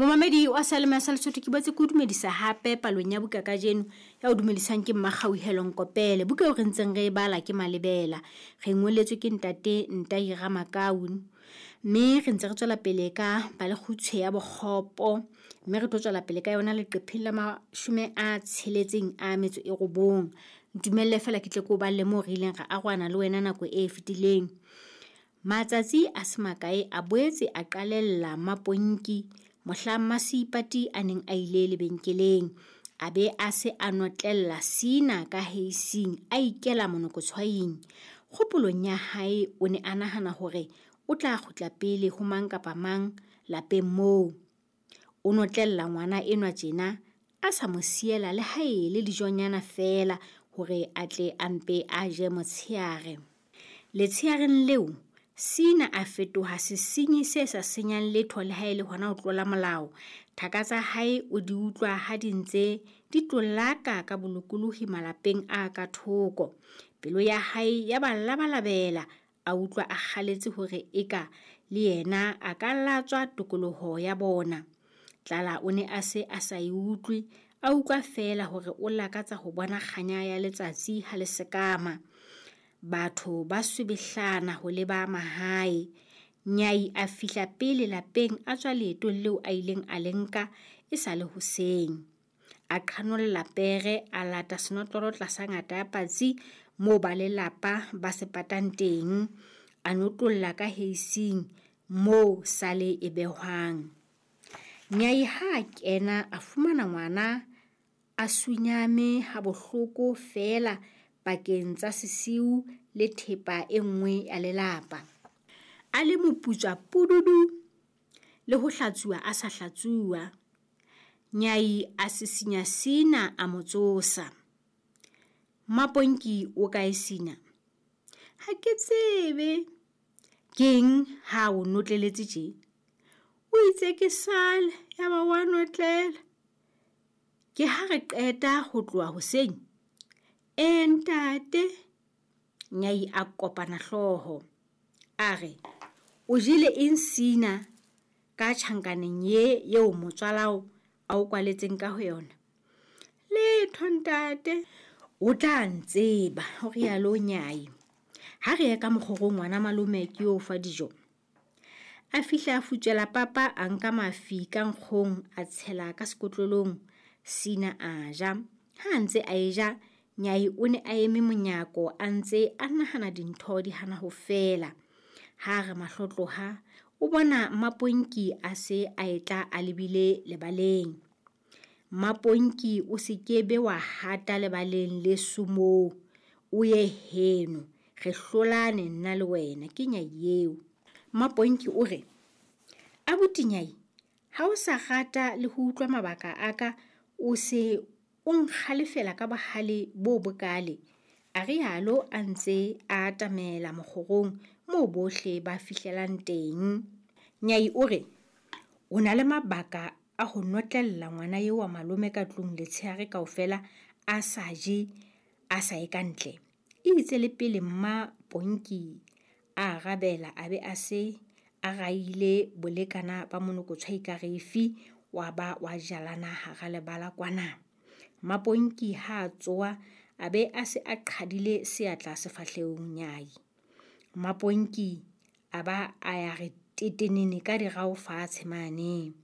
Momamedi wa Salema sa Lesotho, ke boetse ke o dumedisa hape palong ya buka kajeno. Ya o dumedisang ke Mmakgauhelo Nkopele. Buka eo re ntseng re e bala ke Malebela. Re ngoletswe ke ntate Ntai Ramakau. Mme re ntse re tswela pele ka palekgutshwe ya bokgopo. Mme re tlo tswela pele ka yona leqepheng la 69. Ntumelle feela ke tle ke o balle moo re ileng ra arohana le wena nako e fetileng. Matsatsi a se makae a boetse a qalella Mmaponki mohla Mmaseipati a neng a ile lebenkeleng. A be a se a notlella Sina ka heising a ikela monokotshwaing. Kgopolong ya hae o ne a nahana hore o tla kgutla pele ho mang kapa mang lapeng moo. O notlella ngwana enwa tjena a sa mo siela le ha e le dijonyana feela hore a tle a mpe a je motsheare. Letsheareng leo, Sina a fetoha sesenyi se sa senyang letho le ha e le hona ho tlola molao. Thaka tsa hae o di utlwa ha di ntse di tlolaka ka bolokolohi malapeng a ka thoko. Pelo ya hae ya ba labalabela, a utlwa a kgaletse hore eka le yena a ka latswa tokoloho ya bona. Tlala o ne a se a sa e utlwe, a utlwa feela hore o lakatsa ho bona kganya ya letsatsi ha le sekama. Batho ba swebehlana ho leba mahae. Nyai a fihla pele lapeng a tswa leetong leo a ileng a le nka e sa le hoseng. A qhanolla pere a lata senotlolo tlasa ngata ya patsi moo ba lelapa ba se patang teng. A notlolla ka heising moo sale e behwang. Nyai ha a kena a fumana ngwana a sunyame ha bohloko feela pakeng tsa sesiu le thepa e nngwe ya lelapa. A le moputswa pududu le ho hlatsuwa a sa hlatsuwa. Nyai a sisinya Sina a mo tsosa. Mmaponki o kae Sina? Ha ke tsebe. Keng ha o notleletse tje? O itse ke sale ya ba wa notlela. Ke ha re qeta ho tloha hoseng. E ntate. Nyai a kopana hlooho. A re, o jele eng Sina ka tjhankaneng ye eo motswalao a o kwaletseng ka ho yona? Letho ntate. O tla ntseba, ho rialo Nyai. Ha re ye ka mokgorong ngwana malome ke yo fa dijo. A fihla a futswela papa a nka mafi ka nkgong a tshela ka sekotlolong. Sina a ja. Ha a ntse a e ja, Nyai o ne a eme monyako a ntse a nahana dintho di hana ho fela. Ha re mahlo tloha, o bona Mmaponki a se a etla a lebile lebaleng. Mmaponki o se ke be wa hata lebaleng le sumoo, o ye heno, re hlolane nna le wena, ke Nyai eo. Mmaponki o re, abuti Nyai, ha o sa rata le ho utlwa mabaka a ka, o se o nkgalefela ka bohale bo bokale. A rialo a ntse a atamela mokgorong moo bohle ba fihlelang teng. Nyai o re, o na le mabaka a ho notlella ngwana eo wa malome ka tlung letsheare kaofela a sa je, a sa ye ka ntle. E itse le pele Mmaponki a arabela a be a se a raile bolekana ba monokotshwai ka refi wa ba wa jalana hara lebala kwana. Mmaponki ha a tsoha a be a se a qhadile seatla sefahlehong Nyai. Mmaponki a ba a ya re tetenene ka dirao fatshe mane.